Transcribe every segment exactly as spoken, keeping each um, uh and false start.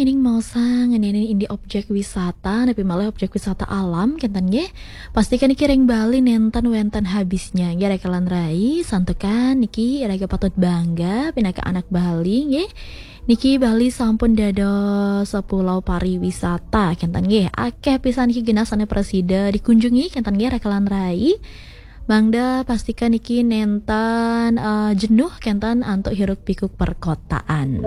Ining maosang ngeninin indik objek wisata, napi malih objek wisata alam, kenten nggih. Pastikan niki ring Bali nenten wenten habisnya, nggih, rekan rai, santukan niki iraga patut bangga pinaka anak Bali, nggih. Niki Bali sampun dados pulau pariwisata, kenten nggih. Akeh pisan niki genah sane prasida dikunjungi, kenten nggih, rekan rai. Mangda pastikan niki nenten, eh, jenuh kenten antuk hiruk pikuk perkotaan.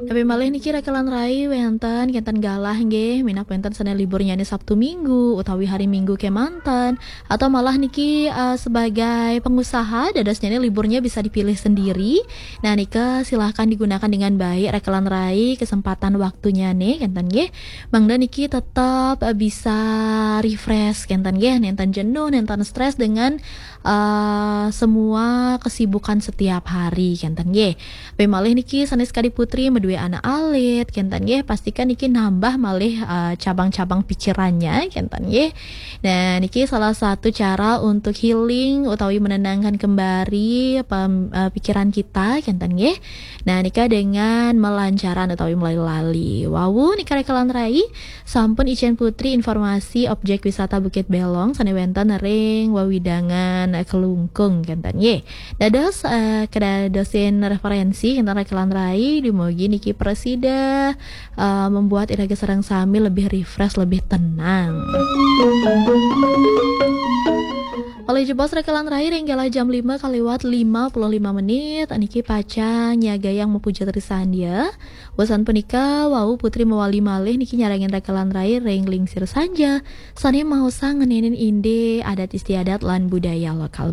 Napi malih niki rekan rai, wenten kenten galah nggih, minab wenten sane liburnyane Sabtu Minggu utawi hari Minggu kemanten, atau malah niki, eh, sebagai pengusaha dadosnyane liburnya bisa dipilih sendiri. Nah, nika silahkan digunakan dengan baik rekan rai, kesempatan waktunyane kenten nggih. Mangda niki tetap, eh, bisa refresh kenten nggih, nenten jenuh, nenten stres dengan, eh, semua kesibukan setiap hari kenten nggih. Napi malih niki sane sakadi Putri madue anak alit kenten nggih, pastikan niki nambah malih, eh, cabang-cabang pikirannya kenten nggih. Nah, niki salah satu cara untuk healing utawi menenangkan kembali pem-, eh, pikiran kita kenten nggih. Nah, nika dengan melancaran utawi melali-lali. Wau nika rekan rai, sampun Icen Putri informasi objek wisata Bukit Belong sane wenten ring wewidangan Kelungkung kenten nggih. Dados, eh, kedadosin referensi kenten rekan rai, dumugi niki prasida, eh, membuat iraga sareng sami lebih refresh, lebih tenang. Olih jebos rekan rai ring galah jam lima kaliwat lima puluh lima menit, niki pacang nyagayang mapuja trisandya. Wusan punika, wau Putri mawali malih niki nyarengin rekan rai ring lingsir sanja, sane maosang ngeninin indik adat istiadat lan budaya lokal